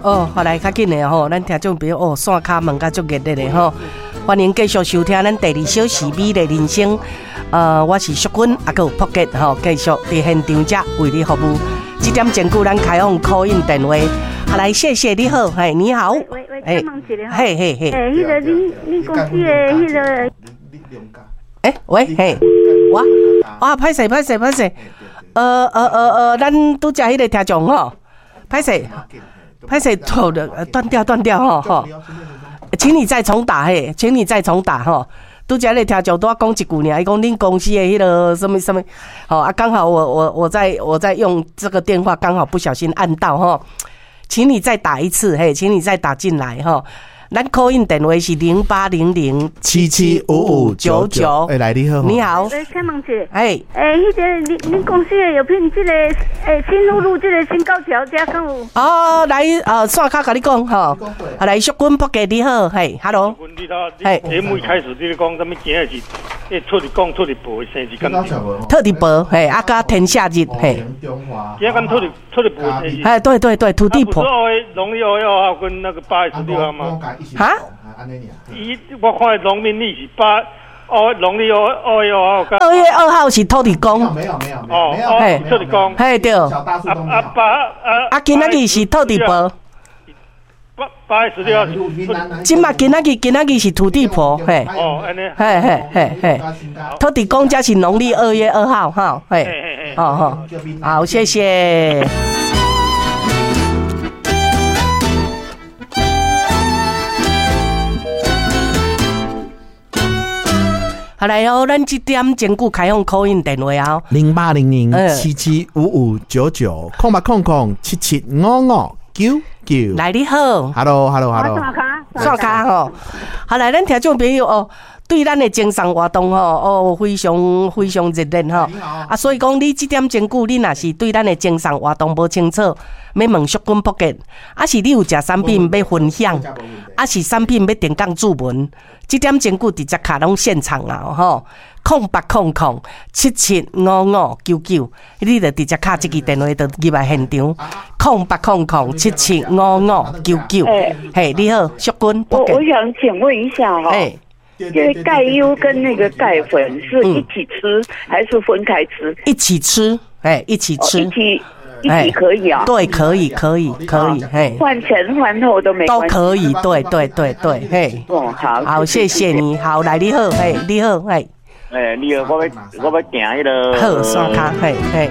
哦，好來較緊的吼，咱聽眾朋友哦，線跤問甲足熱烈的吼，歡迎繼續收聽咱第二小時美麗人生。我是淑君，啊，閣有朴傑吼，繼續佇現場遮為你服務。這點鐘久，咱開放 call in 電話。好來，謝謝你好，嘿，你好，喂喂，請問一下，嘿嘿嘿，欸，彼個恁公司的彼個，欸，喂，嘿，我，啊，歹勢歹勢歹勢，咱拄才彼個聽眾吼，歹勢。歹勢錯了，斷掉斷掉吼吼，請你再重打嘿，請你再重打吼。拄才咧聽眾拄仔講一句爾，伊講恁公司的彼個啥物啥物，吼啊，剛好我在用這個電話，剛好不小心按到吼，請你再打一次嘿，請你再打進來吼。咱 call in 電話是0800 775599。欸，來你好，你好。欸，請問一下，欸，欸，彼個恁公司的藥品，這個欸新福路這個新高橋遮敢有？哦，來，線跤共你講吼，啊，來，淑君朴傑你好，嘿，Hello。嘿，節目一開始你咧講啥物？今日是欸，土地公、土地婆的生日敢對？土地婆，嘿，啊，佮天赦日，嘿。今仔敢土地婆生日？哎，對對對，土地婆。不是農曆2月2號跟那個8月16號嗎？哈？伊我看農民曆是八哦，農曆2月2號。 2月2號是土地公。沒有沒有沒有，嘿，土地公。嘿對。啊啊八啊啊！今仔日是土地婆。8月16號。這馬今仔日是土地婆，嘿。哦，按呢。嘿嘿嘿嘿，土地公才是農曆2月2號，哈，嘿。哦吼，好，謝謝。好來哦，咱這點鐘久開放 call in 電話啊，0800775599，0800775599。來你好，Hello，Hello，Hello，線跤吼，好來，咱聽眾朋友哦，對咱的贈送活動吼，哦，非常非常熱烈吼，啊，所以講你這點鐘久，你若是對咱的贈送活動無清楚，欲問淑君朴傑，啊是你有食產品欲分享，啊是產品欲電講注文，這點鐘久直接敲攏現場啊吼，0800775599，你就直接敲這支電話就入來現場，0800775599，嘿，你好，淑君。我想請問一下哈。因為鈣優跟那個鈣粉是一起吃還是分開吃？一起吃，哎，一起吃，一起一起可以啊？對，可以，可以，可以，嘿，飯前飯後都沒都可以，對對對對，嘿，哦，好，好，謝謝你，好，來，你好，嘿，你好，嘿，欸，你好，我欲訂彼個，好，線跤，嘿，嘿。